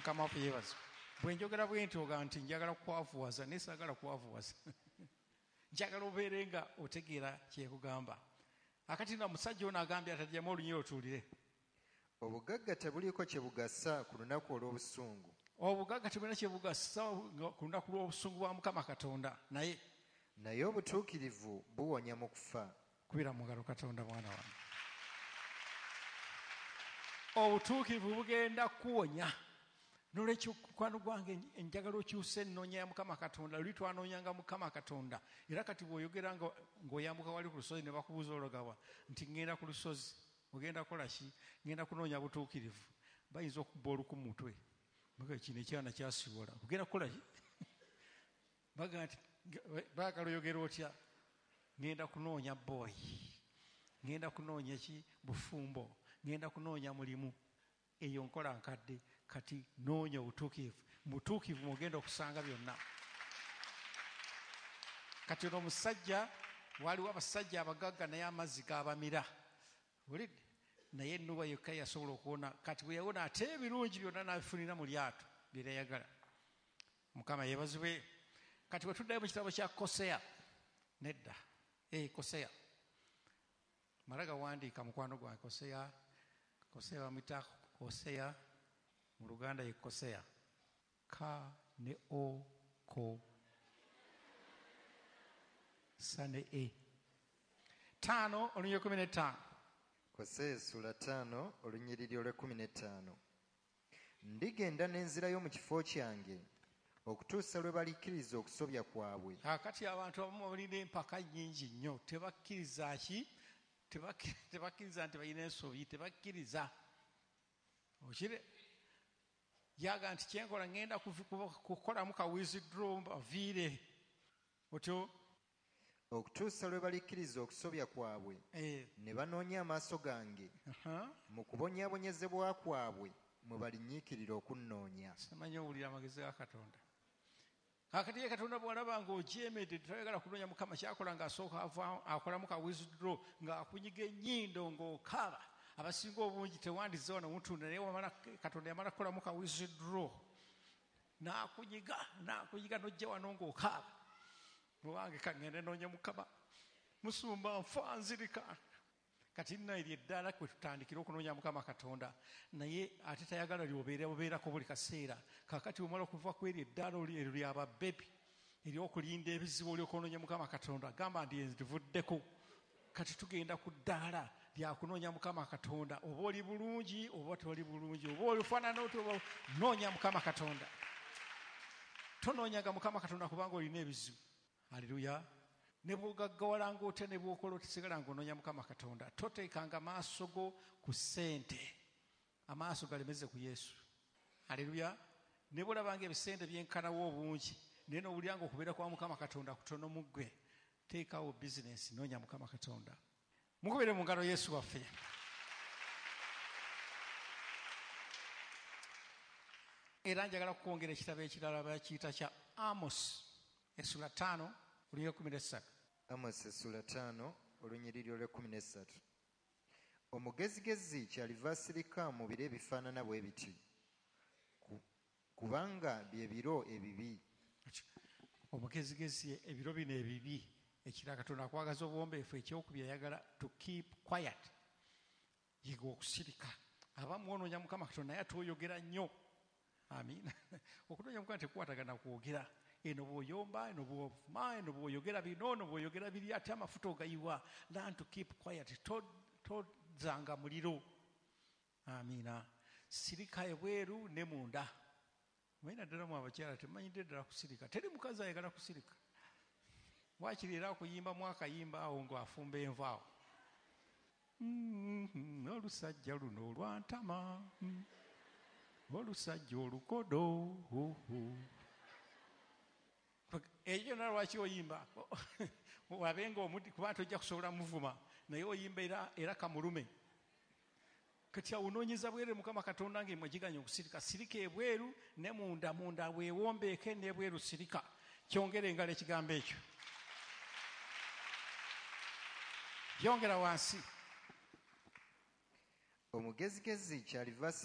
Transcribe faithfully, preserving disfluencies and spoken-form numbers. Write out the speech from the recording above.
Mukama waffe yeebazibwe. Bwe njogera bwe nti oga nti njagala kukwavuwaza, naye saagala kukwavuwaza. Njagala obeere nga otegeera kyekugamba. Akati na musajja ono agambye atagyamu olunyiriri otuulire. Obugagga tebuliiko kye bugasa ku lunaku olw'obusungu. Obugagga tebulina kye bugasa ku lunaku lw'obusungu bwa Mukama Katonda. Naye naye obutuukirivu buwonya mu kufa. Kubira mu ngalo Katonda mwana wange. Obutuukirivu bugenda kuwonya. Nolwekyo mukwano gwange njagala okyuse ennoonya ya Mukama Katonda. Luli twanoonyanga Mukama Katonda. Era kati bw'oyogera ng'oyambuka wali ku lusozi ne bakubuuza ologawa nti ŋŋenda ku lusozi. Ogenda kukola ki? Ŋŋenda kunoonya butuukirivu. Bayinza okubba oluku mu mutwe. Baga kino ekyana kyasibola. Ogenda kukola ki? Baga nti baagala oyogera otya? Ŋŋenda kunoonya bboyi. Ŋŋenda kunoonya ki? Bufumbo. Ŋŋenda kunoonya mulimu. Eyo nkola nkadde. Kati noonya obutuukirivu. Mu butuukirivu mw'ogenda okusanga byonna. Kati ono omusajja, waliwo abasajja abagagga naye amazzi gaabamira. Wulidde? Naye Nuwa yekka yasobola okuwona. Kati bwe yawona ate ebirungi byonna n'abifunira mu lyato bye yayagala. Mukama yeebazibwe. Kati bwe tuddayo mu kitabo kya Koseya. Nedda. Eh, Koseya. Mala gawandiika mukwano gwange Koseya. Koseya bamuyita Koseya. Mu Luganda ye Koseya. Ka ne o ko. Sa ne e. Taano olunyiriri kumi n'ettaano. Koseya essula ttaano olunyiriri olw'ekkumi n'ettaano. Ndigenda n'enzirayo mu kifo kyange okutuusa lwe balikkiriza okusobya kwabwe. Kaakati abantu abamu balina empaka nnyingi nnyo, tebakkiriza ki? Tebakkiriza nti balina ensobi, tebakkiriza. Okire yaga nti kyenkola ŋŋenda kukolamu ka withdraw baviire. Otyo okutuusa lwe balikkiriza okusobya kwabwe eh. ne banoonya amaaso gange uh-huh. mu kubonyaabonyezebwa kwabwe mwe balinyiikirira okunnoonya. Simanyi owulira amagezi ga Katonda. Kaakati ye Katonda bw'alaba ng'ogyemedde toyagala kunoonya Mukama, kyakola ng'asooka akolamu ka withdraw ng'akunyiga ennyindo ng'okaaba. Abasinga obungi tewandize wano mutunda, naye wamala Katonda yamala kukolamu ka withdraw n'akunyiga n'akunyiga n'ojja wano ng'okaaba. Muwange kangende noonye Mukama, musumba nfa nzirika. Kati nno eryo eddaala kwe tutandikira okunoonya Mukama Katonda, naye ate tayagala lyobeera obeerako buli kaseera. Kaakati bw'omala okuva ku eryo eddaala eryo ly'ababebi ery'okulinda ebizibu olyoka onoonya Mukama Katonda, gamba nti nzivuddeko. Kati tugenda ku ddaala lyakunoonya Mukama Katonda. Oba oli bulungi oba toli bulungi, oba olifaanana otya, oba noonya Mukama Katonda. Tonoonyanga Mukama Katonda kubanga olina ebizibu. Haleluya. Ne bw'ogaggawalanga otya ne bw'okola otisigala ng'onoonya Mukama Katonda. Toteekanga maaso go ku ssente, amaaso galemeze ku Yesu. Haleluya. Ne bw'olabanga ebisente byenkanawo obungi, naye n'owulira ng'okubeera kwa Mukama Katonda kutono mu ggwe, teekawo bizinensi, noonya Mukama Katonda. Mukubire mu ngalo Yesu waffe. Era njagala kukwongera ekitabo ekirala bakiyita kya Amos essula ttaano olunyiriri kkumi n'essatu. Amos essula ttaano olunyiriri olw'ekkumi n'essatu. Omugezigezi kyaliva asirika mu biro ebifaanana bwe biti, kubanga bye biro ebibi. Omugezigezi ebiro bino ebibi, ekira Katonda akwagaza obuwombeefu, ekyokubiri ayagala to keep quiet, yiga okusirika. Abamu onoonya Mukama Katonda naye ate oyogera nnyo. Amiina. Okunoonya Mukama tekukwatagana kwogera. Eno bw'oyomba, eno bw'ovuma, eno bw'oyogera bino, eno bw'oyogera biri, ate amafuta ogayiwa. Learn to keep quiet. Tozanga muliro. Amiina. Sirika ebweru ne munda. Manyi naddala mu abakyala temanyidde ddala kusirika. Teri mukazi ayagala kusirika. Waakiri era akuyimbamu akayimba awo ng'afumba enva awo. Olusajja luno olwantama, olusajja olukodo. Ekyo kyonna lwaki oyimba? Wabenga omuddi kuba tojja kusobola muvuma, naye oyimba era, era kamulume. Kati awo onoonyeza bweru Mukama Katonda ng'emwe giganya okusirika. Sirika ebweru ne munda, munda weewombeeke n'ebweru sirika. Kyongera engalo ekigambo ekyo. Yongera wansi. Omugezigezi kyaliva